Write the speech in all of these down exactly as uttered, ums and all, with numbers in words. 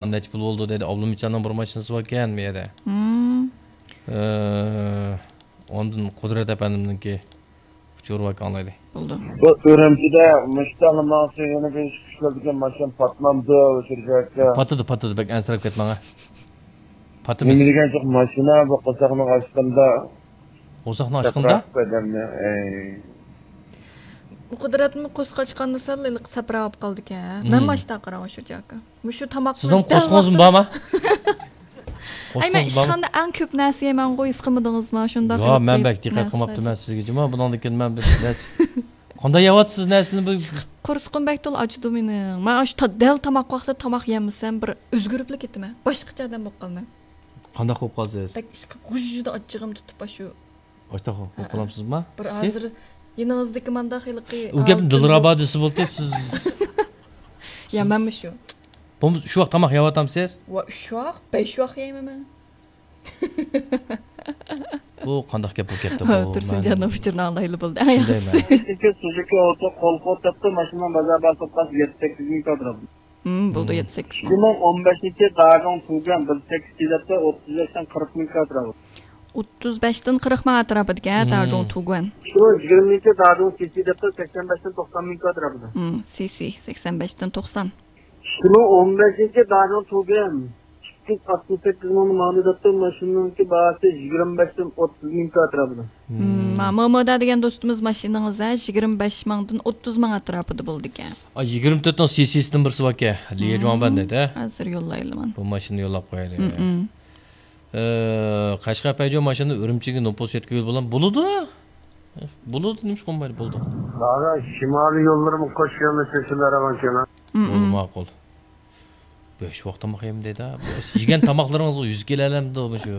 نەچچە پۇل بولدى دەيدۇ. ئابلىمىتجاننىڭ بىر ماشىنىسى باركەن بۇ يەردە. مم. ئە، ئاندىن قۇدرەت ئەپەندىمنىڭكى ئۇچۇر باركەن ئاڭلايلى. بولدى. بۇ ئۈرۈمچىدە مۇشۇ تاڭ ماڭسا يەنە بىر ئىش كۈچلەر دېگەن ماشىنا پاتمامدۇ، ئۇچۇر جاياككا؟ پاتىدۇ، پاتىدۇ، بەك ئەنسىرەپ كەتمەڭ. پاتىمىز. نېمە دېگەن جىق ماشىنا بۇ قورساقنىڭ ئاچقىنىدا. قورساقنىڭ ئاچقىنىدا؟ ئادەمنى، ئەي. قۇدرەتمۇ قورسىقى ئاچقاندا سەل ھېلىقى سەپرەپ قالىدىكەن. مەن مم. ماشتا قاراڭ ئۇچۇر جاياككا. مۇشۇ تاماقنى سىزنىڭ دەل قورسىقىڭىزمۇ ۋاقتىدا بارمۇ؟ ئەي، مەن قورسىقىڭىز بارمۇ؟ ئىشخانىدا ئەڭ كۆپ نەرسە يەيمەنغۇ، ھېس قىلمىدىڭىزمۇ؟ شۇنداق ياق، مەن بەك دىققەت قىلماپتىمەن سىزگىچىمۇ. بۇنىڭدىن كېيىن مەن بىر نەرسە، قانداق يەۋاتىسىز نەرسىنى بۇ؟ ئىشقىلىپ قورسىقىم بەك تولا ئاچىدۇ مېنىڭ. مەن ئاشۇ تا-، دەل تاماق ۋاقتىدا تاماق يەمىسەم، بىر ئۆزگىرىپلا كېتىمەن. باشقىچە ئادەم بولۇپ قالىمەن. قانداق بولۇپ قالىسىز؟ بەك ئىشقىلىپ غۇژژىدە ئاچچىقىم تۇتۇپ ئاشۇ. ئاشۇنداق بولۇپ قالامسىزما؟ بىر سىز؟ ھازىر يېنىڭىزدىكى مانداق ھېلىقى ئۇ گەپنى ئالتۇن دىلرەبا دېسە بولدى، سىز. يا، مەنمۇ شۇ. بولمىسا شۇ ۋاق تاماق يەۋاتامسىز؟ ۋا، ئۈچ ۋاق، بەش ۋاق يەيمەن مەن. بۇ قانداق گەپ بولۇپ كەتتى بۇ؟ تۇرسۇنجاننىڭ ئۇچۇرىنى ئاڭلايلى بولدى. ئەڭ ياخشىسى. سۈزۈكى ئوتو قول قوتاپتۇ، ماشىنىنىڭ بازار باھاسى يەتتە سەككىز مىڭ كاتراپ. ھىم، بولدى، يەتتە سەككىز مىڭ. ئىككى مىڭ ئون بەشىنچى داجون تۇگەن بىر سەككىز يىللىقتا ئوتتۇز بەشتىن قىرىق مىڭ كاتراپ. ئوتتۇز بەشتىن قىرىق مىڭ ئەتراپىدىكەن، ھىم. داجون تۇگەن. ئىككى مىڭ يىگىرمىنچى داجون سىسى دەپتۇ سەكسەن بەشتىن توقسان مىڭ كاتراپىدا. ھىم، سىسى سەكسەن بەشتىن توقسان. ئىككى مىڭ ئون بەشىنچى داجون تۇگەن ئىككى يۈز ئاتمىش سەككىز مىڭنى ماڭدى دەپتۇ، ماشىنىنىڭكى باھاسى يىگىرمە بەشتىن ئوتتۇز مىڭ كاتراپىدا. ھىم، ماما دېگەن دوستىمىز ماشىنىڭىز ھە يىگىرمە بەش مىڭدىن ئوتتۇز مىڭ ئەتراپىدا بولىدىكەن. ئا، يىگىرمە تۆتنىڭ سىسىسىدىن بىرسى باركەن. ليەجۇاڭبەن دەيدۇ، ھە؟ ھازىر يوللايلىمەن. بۇ ماشىنىنى يوللاپ قويايلى. ھىم، ھىم. ئە، قەشقەر پەيجو ماشىنىنى ئۈرۈمچىگە نوپۇس يەتكۈزگىلى بولامدۇ؟ بولىدۇ. بولىدۇ، نېمىشقا بولمايدۇ؟ بولىدۇ. دادا، شىمالىي يوللىرىمۇ قوش يۆنىلىش شەكىللەر ئالغان كېمە. ھىم، بولدى، ھىم. ماقۇل. بەش ۋاق تاماق يەيمەن دەيدۇ. يېگەن تاماقلىرىڭىزغا يۈز كېلەلەمدۇ مۇشۇ؟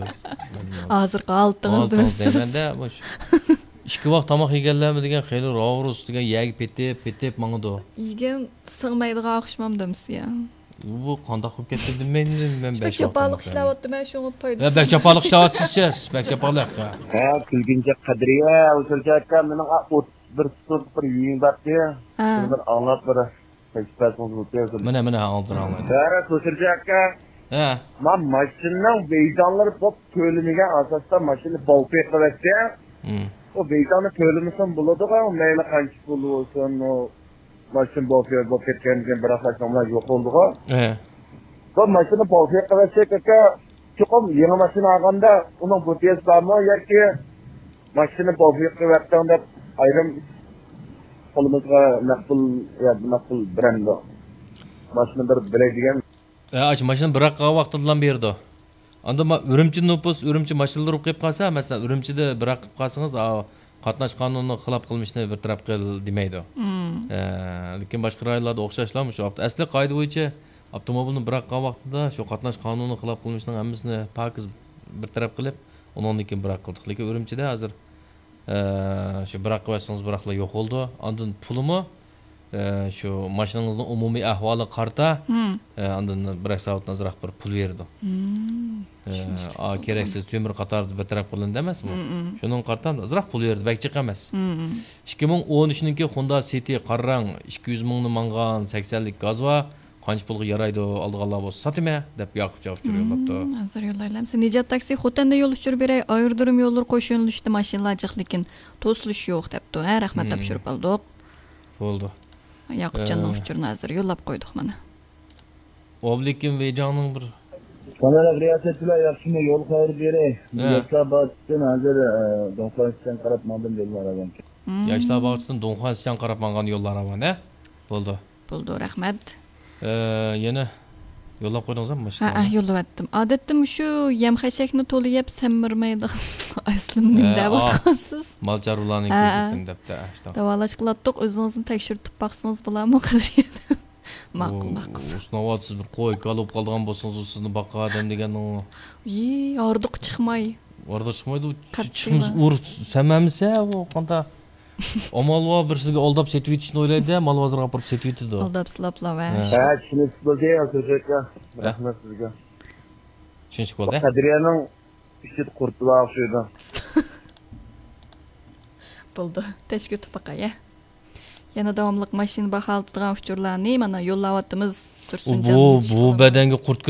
ھازىرقى ھالىتىڭىز ھالىتىڭىز دېمەيسىز. دەيمەندە مۇشۇ. ئىككى ۋاق تاماق يېگەنلەرمۇ دېگەن خېلى راۋۇرۇس دېگەن يەرگە پېتىپ، پېتىپ ماڭىدۇ. يېگەن سىڭمەيدىغان ئوخشىمامدۇ ئەمىسە يا؟ بۇ قانداق بولۇپ كەتتى دېمەيمەن، مەن بەك بەش ۋاق جاپالىق تاماق يەيمەن. ئىشلەۋاتىمەن، شۇڭا پايدىسىز. ھە، بەك جاپالىق ئىشلەۋاتىسىز سىز، بەك جاپالىق. ھە، كۈلگىنچە قەدرىيە، ئۇچۇر جاياككا، مېنىڭ ئوتتۇز بىر سۇتۇق بىر يۈيۈم بارتى. ھە. شۇنى بىر ئاڭلاپ بىر تەكلىپ بەرسىڭىز بولىدۇ. مانا، مانا، ھازىر ئاڭلايمەن. ھە، ئۇچۇر جاياككا. ھە. ما ماشىنىنىڭ ۋەيجانلىرى بولۇپ تۆلىمىگەن ئاساستا ماشىنا باۋپى قىلىۋەتسە، ھىم. ئۇ ۋەيجاننى تۆلىمىسىمۇ بولىدىغۇ، مەيلى قانچە پۇل بولسۇن، ئۇ ماشىنا بوفيور بولۇپ كەتكەندىن كېيىن بىراق ماشىنا يوق بولدىغۇ. ئە. بۇ ماشىنا بوفيور قىلىۋەتسەك ئاكا، چوقۇم يېڭى ماشىنا ئالغاندا ئۇنىڭ بوفيورسى بارمۇ ياكى ماشىنا بوفيور قىلىۋەتتىڭ دەپ ئايرىم قولىمىزغا نەق پۇل يا نەق پۇل بېرەمدۇ؟ ماشىنا بىر بېرەي دېگەن. ئە، ئاشۇ ماشىنا بىراق قىلغان ۋاقتىدىلا بېرىدۇ. ئاندىن ما-، ئۈرۈمچى نوپۇس، ئۈرۈمچى ماشىنىلىرى بولۇپ قېلىپ قالسا، مەسىلەن، ئۈرۈمچىدە بىراق قىلىپ قالسىڭىز، ئا، قاتناش قانۇنىنىڭ خىلاپ قىلمىشىنى بىر تەرەپ قىل دېمەيدۇ. مم. ئە، لېكىن باشقا رايونلاردا ئوخشاشلا مۇشۇ ئاپت-، ئەسلى قائىدە بويىچە ئاپتوموبىلنى بىراق قىلغان ۋاقتىدا شۇ قاتناش قانۇنىنىڭ خىلاپ قىلمىشىنىڭ ھەممىسىنى پاكىز بىر تەرەپ قىلىپ، ئۇنىڭدىن كېيىن بىراق قىلدۇق. لېكىن ئۈرۈمچىدە ھازىر ئە، شۇ بىراق قىلىۋەتسىڭىز، بىراقلا يوق بولىدۇ. ئاندىن پۇلىمۇ، ئە، شۇ ماشىنىڭىزنىڭ ئومۇمىي ئەھۋالىغا قارىتا، مم. ئە، ئاندىن بىراق سائەتتىن ئازراق بىر پۇل بېرىدۇ. مم. ئە، چۈشىنىشلىك ئا، بولدى. كېرەكسىز تۆمۈر قاتاردا بىر تەرەپ قىلىندى ئەمەسمۇ؟ مم، مم. شۇنىڭغا قارىتا ئازراق پۇل بېرىدۇ، بەك جىق ئەمەس. مم، مم. ئىككى مىڭ ئون ئۈچىنىڭكى خوندا سىتى قارا رەڭ ئىككى يۈز مىڭنى ماڭغان سەكسەنلىك گاز بار. قانچە پۇلغا يارايدۇ، ئالىدىغانلار بولسا ساتىمەن دەپ ياقۇپجان ئۇچۇر يوللاپتۇ. مم، ھازىر يوللايلى ئەمىسە. نىجات تاكسى، خوتەندە يول ئۇچۇر بېرەي، ئايرودروم يوللىرى قوش يۆنىلىشتە ماشىنىلار جىق، لېكىن توسۇلۇش يوق دەپتۇ. ھە، رەھمەت، مم. تاپشۇرۇپ ئالدۇق. بولدى. ياقۇپجاننىڭ ئە، ئۇچۇرىنى ھازىر يوللاپ قويدۇق مانا. ئوبلىكىم ۋېيجاڭنىڭ بىر سالامەت رىياسەتچىلەر ياخشىمۇ؟ يول خەۋىرى بېرەي. ھە. ياشلار باغچىسىدىن ھازىر، ئە، دۇڭخۇا سىچيان قاراپ ماڭدىم يوللار ئەۋەنكى. مم. ياشلار باغچىسىدىن دۇڭخۇا سىچيان قاراپ ماڭغان يوللار ئەۋەن، ھە؟ بولدى. بولدى، رەھمەت. ئە، يەنە يوللاپ قويدىڭىزمۇ مۇشۇ ھە، ھە، يوللىۋەتتىم. ئادەتتە مۇشۇ يەم خەشەكنى تولا يەپ سەمرىمەيدىغان ئەسلىمۇ نېمە ھە، دەۋاتقانسىز؟ مال چارۋىلارنىڭ ھە، ھە. كۆپىيىپتۇ دەپتۇ، ھە، شۇنداق. داۋالاش قىلاتتۇق، ئۆزىڭىزنى تەكشۈرتۈپ باقسىڭىز بولامۇ قەدرىيە؟ ماقۇل، ئۇ، ماقۇل. ئۇ سىناۋاتسىز بىر قوي كالا بولۇپ قالىدىغان بولسىڭىز، ئۇ سىزنى باققان ئادەم دېگەننىڭ. يى، ھاردۇق چىقماي. ھاردۇق چىقمايدۇ، چىقمىسا ئۇر سەمەمسە ئۇ قاندا. ئامال بار، بىر سىزگە ئالداپ سېتىۋېتىشنى ئويلايدۇ، مال بازىرىغا ئاپىرىپ سېتىۋېتىدۇ. ئالداپ سىلاپلا ۋە. ھە. ھە، چۈشىنىشلىك بولدى، ئەلتۆشەككە. ھە. رەھمەت سىزگە. چۈشىنىشلىك بولدى. قەدرىيەنىڭ ئىچىدە قۇرت بار ئوخشايدۇ. بولدى. تەشكىل تۇپاقاي، ھە. يەنە داۋاملىق ماشىنا باھالىتىدىغان ئۇچۇرلارنى مانا يوللاۋاتىمىز، تۇرسۇنجان. بۇ بۇ بەدەنگە قۇرت كىرىپ